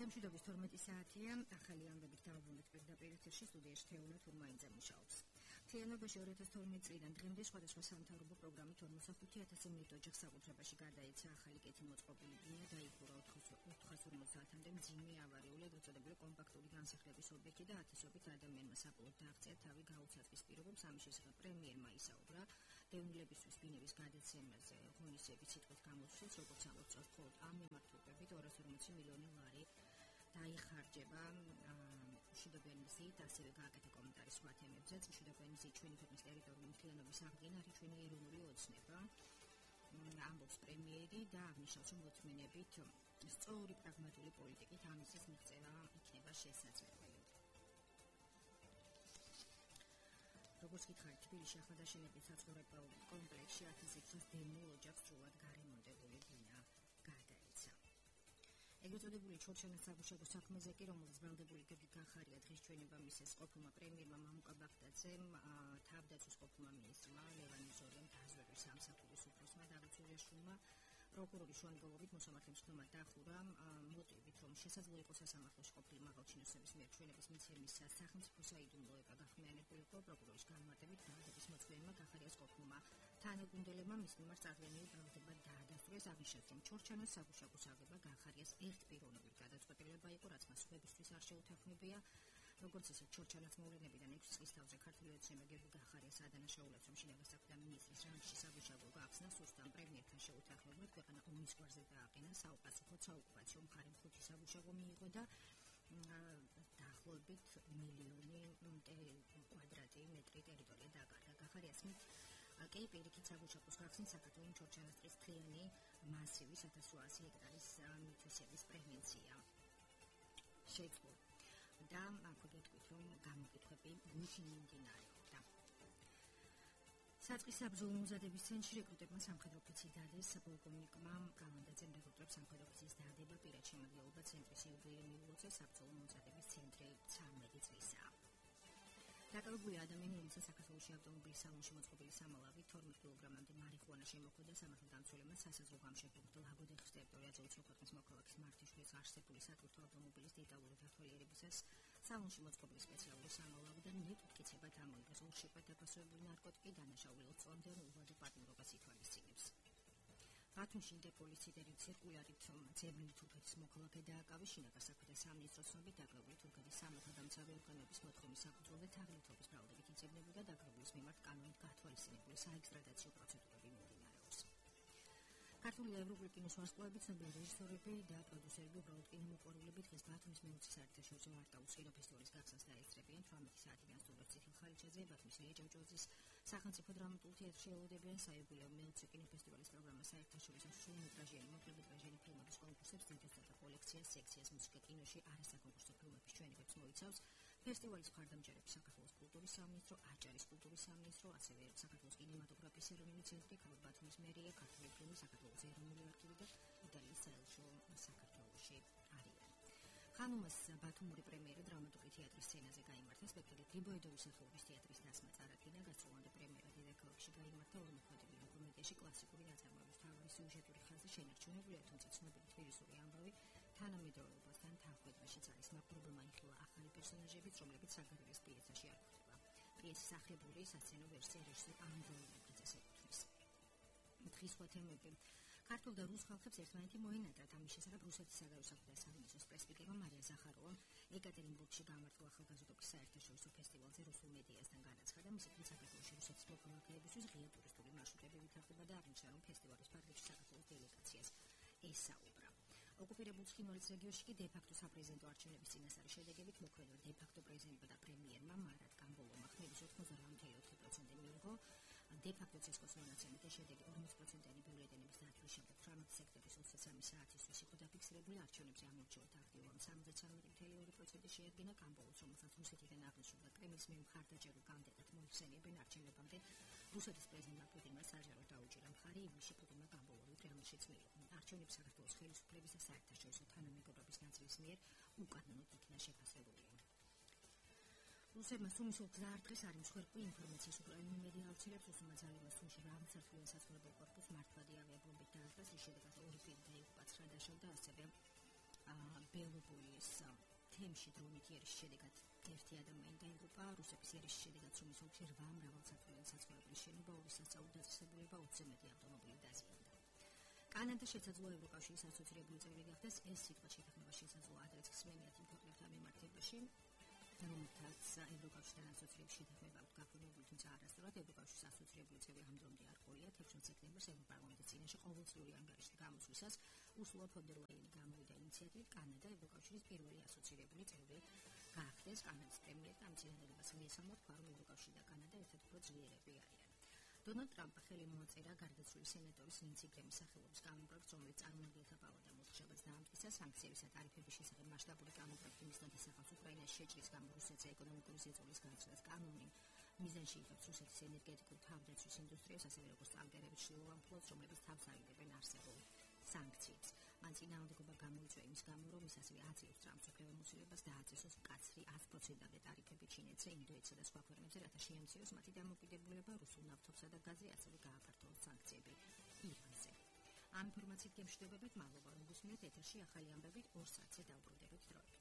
მშვიდობის 12 საათია, ახალი ამბებით დავუბრუნდეთ პირდაპირ ეთერში სტუდიაში თეონა თურმაინძე მუშაობს. მთლიანობაში 2012 წლიდან დღემდე სხვადასხვა სამთავრობო პროგრამით 45,000 მილტ ოჯახს საკუთრებაში გადაეცა ახალი კეთი მოწყობილი ბინა და იხურა 450-მდე მძიმე ავარიული ეგრეთ წოდებული კომპაქტური განსახლების ობიექტი და ათასობით ადამიანმა საბოლოოდ დააღწია თავი გაუცაწყის პირობებს. ამის შესახებ პრემიერმა ისაუბრა დევნილებისთვის ბინების გადაცემაზე ღონისძიების სიტყვით გამოსვლით, როგორც ამოწევს, მხოლოდ ამ მიმართულებით 240 მილიონი ლარი დაიხარჯება. მშვიდობიანი მზით ასევე გააკეთა კომენტარი სხვა თემებზეც. მშვიდობიანი მზით ჩვენი ქვეყნის ტერიტორიული მთლიანობის აღდგენა არის ჩვენი ეროვნული ოცნება, ამბობს პრემიერი და აღნიშნავს, რომ მოწმენებით სწორი პრაგმატული პოლიტიკით ამისის მიღწევა იქნება შესაძლებელი. როგორც გითხარით, თბილისში ახლადაშენებულ საცხოვრებელ კომპლექსში 1000-ზე დემო ოჯახს სრულად გარემონტებული ბინა გადაეცა. ეგრეთ წოდებული ჩორჩანის საგუშაგო საქმეზე კი, რომელზეც ბრალდებული გეგმით განხარია დღის ჩვენება მისცეს ყოფილმა პრემიერმა მამუკა ბაღდაძემ, თავდაცვის ყოფილმა მინისტრმა ლევან იზორიამ დაზვერვის სამსახურის უფროსმა დავით სურიაშვილმა პროკურორის შუამდგომლობით მოსამართლე მცდელმა დახურა მოტივით, რომ შესაძლოა იყოს სასამართლოში ყოფილი მაღალჩინოსნების მიერ ჩვენების მიცემის სახელმწიფო საიდუმლო ეკა გახმიანებულიყო. პროკურორის განმარტებით ბრალდების მოწმენმა განხარიას ყოფილმა თანაგუნდელებმა მის მიმართ წარდგენილი ბრალდება დაადასტურეს. აღნიშნეს, რომ ჩორჩანას საგუშაგოს აღება განხარიას ერთპიროვნებით გადაწყვეტილება იყო, რაც მას სხვებისთვის არ შეუთანხმებია. როგორც ისე ჩორჩანას მოვლენებიდან 6 წლის თავზე ქართული ოცნება გიორგი განხარიას ადანაშაულებს, რომ შინაგან საქმეთა მინისტრის რანგში საგუშაგო გახსნა სუსტამ პრემიერთან შეუთანხმებლად ქვეყანა ომის გვარზე დააყენა. საუკეთესოდ საოკუპაციო მხარემ 5 საგუშაგო მიიღო და დაახლოებით მილიონი კვადრატი მეტრი ტერიტორია დაკარგა. განხარიას მით კი პირიქით საგუშაგოს გახსნით საქართველოს ჩორჩანას ტყის მთლიანი მასივის 1800 ჰექტარის მითვისების პრევენცია შეძლო და აქვეგვეთქვით, რომ გამოკითხვები გუშინ მიმდინარეობდა. საწყის საბრძოლო მომზადების ცენტრში რეკრუტებმა სამხედრო ოფიცერი დადეს. პოლკოვნიკმა კალანდაძემ რეკრუტებს სამხედრო ოფიცრის დადება პირად შემადგენლობა ცენტრის იუბილეი მიულოცა. საბრძოლო მომზადების ცენტრი 13 წლისაა. დაკავებული ადამიანი, რომელსაც საქართველოში ავტომობილის სალონში მოწყობილი სამალავი 12 კილოგრამამდე მარიხუანა შემოხვდა, სამართალდამცველებმა სასაზღვრო გამშენებელ ლაგოდეხის ტერიტორიაზე უცხო ქვეყნის მოქალაქის მართიშვილის არსებული სატვირთო ავტომობილის დეტალური დათვალიერებისას სალონში მოწყობილი სპეციალური სამალავიდან ნეტუთკიცებად ამოიღეს. ორშაბათ დაფასებული ნარკოტიკი დანაშაული 20 წლამდე უვადო პატიმრობას ითვალისწინებს. ბათუმში ინტერპოლის ციტერი ცირკულარით ძებნილი თურქეთის მოქალაქე დააკავეს. შინაგან საქმეთა სამინისტროს ცნობით დაკავებული თურქეთის სამართალდამცავი ორგანოების მოთხოვნის საფუძველზე თაღლითობის ბრალდებით იძებნებოდა დაკავებულის მიმართ კანონით გათვალისწინებული საექსტრადაციო პროცედურები მიმდინარეობს. ქართული და ევროპული კინოს ვარსკვლავები, ცნობილი რეჟისორები და პროდიუსერები, უბრალოდ კინომოყვარულები დღეს ბათუმის მე-20 საერთაშორისო არტაუს კინოფესტივალის გახსნას დაესწრებიან. 18 საათიდან სტუმრებს ციხილ ხალიჩაძე, ბათუმის ილია ჭავჭავაძის სახელმწიფო დრამატულ თეატრში ელოდებიან. საიუბილეო მე-20 კინოფესტივალის პროგრამა საერთაშორისო სრულმეტრაჟიანი, მოკლემეტრაჟიანი ფილმების კონკურსებს, ძირითადად კოლექციას, სექციას, მუსიკა კინოში, არასაკონკურსო ფილმების ჩვენებებს მოიცავს. ფესტივალის მხარდამჭერები საქართველოს კულტურის სამინისტრო, აჭარის კულტურის სამინისტრო, ასევე საქართველოს კინემატოგრაფიის ეროვნული ცენტრი, ქალაქ ბათუმის მერია, ქართული ფილმის საქართველოს ეროვნული არქივი და იტალიის საელჩო საქართველოში არიან. ხანუმას ბათუმური პრემიერა დრამატული თეატრის სცენაზე გაიმართა. სპექტაკლი გრიბოედოვის სახელობის თეატრის დასმა წარადგინა. გასწრებამდე პრემიერა დედაქალაქში გაიმართა. ორმოქმედებიანი კომედიაში კლასიკური ნაწარმოების მთავარი სიუჟეტური ხაზი შენარჩუნებულია, თუმცა ცნობილი თბილისური ამბავი თანამედროვეობასთან თანხვედრაშიც არის. მაკრობელმა იხილა ახალი პერსონაჟებიც, რომლებიც საგარელის პიესაში არ გვხვდება. პიესის ახლებური სასცენო ვერსია რეჟისორ ანდრეი ნაკიძეს ეკუთვნის. დღის სხვა თემები. ქართულ და რუს ხალხებს ერთმანეთი მოენატრათ. ამის შესახებ რუსეთის საგარეო საქმეთა სამინისტროს პრესპიკერმა მარია ზახაროვამ ეკატერინბურგში გამართულ ახალგაზრდობის საერთაშორისო ფესტივალზე რუსულ მედიასთან განაცხადა. მისი თქმით, საქართველოში რუსეთის მოქალაქეებისთვის ღია ტურისტული მარშრუტები ვითარდება და აღნიშნა, რომ ფესტივალის ფარგლებში საქართველოს დელეგაციას ესაუბრა. ოკუპირებულ ცხინვალის რეგიონში კი დე-ფაქტო საპრეზიდენტო არჩევნების წინასწარი შედეგებით მოქმედება დე-ფაქტო პრეზიდენტმა და პრემიერმა მარატ კამბოლოვმა ხმების 98% მიიღო. დე-ფაქტო ცესკოს მონაცემით შედეგი 40%-იანი ბიულეტენების დათვლის შემდეგ 18 სექტემბრის 23 საათისთვის იყო დაფიქსირებული. არჩევნებზე ამორჩეულთა აქტივობამ 73.2% შეადგინა. კამბოლოს, რომელსაც რუსეთიდან აღნიშნულდა კრემლის მიერ მხარდაჭერულ კანდიდატად მოიხსენიებენ არჩევნებამდე, რუსეთის პრეზიდენტმა პუტინმა საჯაროდ დაუჭირა მხარი. ივლისში პუტინმა კამბოლოვი პრემლშიც მიიღო. არჩევნები საქართველოს ხელისუფლების და საერთაშორისო თანამეგობრობის ნაწილის მიერ უკანონოდ იქნა შეფასებული. რუსებმა სუმის გზა არტყის არ იმსხვერპლი ინფორმაციის უკრაინული მედია ავრცელებს. რუსულმა ძალებმა სუმში რაღაცარდლიან საცხოვრებელ კორპუსს მართვადი ავიაბომბით დაარტყეს, რის შედეგად 2 პირი დაიღუპა, 9 დაშავდა, ასევე ბელობოიეს თემში დროინით იერიშის შედეგად ერთი ადამიანი დაიღუპა, რუსეთის იერიშის შედეგად სუმის ოლქში 8 მრავალსართულიანი საცხოვრებელი შენობა, 2 სასწავლო დაწესებულება, 20-ზე მეტი ავტომობილი დაზიანდა. კანადა შესაძლოა ევროკავშირის ასოცირებული წევრი გახდეს. ეს სიტყვა შეთანხმება შესაძლოა ადრეც ხსნენიათ იმ ქვეყნებთან მიმართებაში, რომელთაც ევროკავშირთან ასოცირების შეთანხმება აქვს გაფორმებული, თუმცა არასდროს ევროკავშირის ასოცირებული წევრი ამ დრომდე არ ყოლია. 16 სექტემბერს ევროპარლამენტის წინაშე ყოველწლიური ანგარიშის გამოსვლისას ურსულა ფონ დერ ლაიანი გამოვიდა ინიციატივით კანადა ევროკავშირის პირველი ასოცირებული წევრი გახდეს. კანადის პრემიერმა ამ წინადადებას მიესალმა, თქვა, რომ ევროკავშირი და კანადა ერთად უფრო ძლიერები არიან. დონალდ ტრამპმა ხელი მოაწერა გარდაცვლილი სენატორის ლინცი გრემის სახელობის კანონპროექტს, რომელიც წარმომადგენელთა პალატამ მოთხოვნას დაამტკიცა სანქციების და ტარიფების შესახებ მასშტაბური კანონპროექტი მისდათ ისახავს უკრაინას შეჭრის გამო რუსეთზე ეკონომიკური ზეწოლის განცდას. კანონი მიზანში იღებს რუსეთის ენერგეტიკულ თავდაცვის ინდუსტრიას, ასევე როგორც ტანკერების შილოვან ფლოტს, რომლებიც თავს აიღებენ არსებულ სანქციებს. მან წინააღმდეგობა გამოიწვია იმის გამო, რომ ის ასევე აწევს ტრამპს უფლებამოსილებას დააწესოს მკაცრი 100%-ამდე ტარიფები ჩინეთზე, ინდოეთსა და სხვა ქვეყნებზე, რათა შეამციროს მათი დამოკიდებულება რუსულ ნავთობსა და გაზზე, ასევე გააფართოვოს სანქციები ირანზე. ამ ინფორმაციით გემშვიდობებით, მადლობა რომ გусმინეთ ეთერში ახალი ამბებით 2 საათზე დავბრუნდებით დროებით.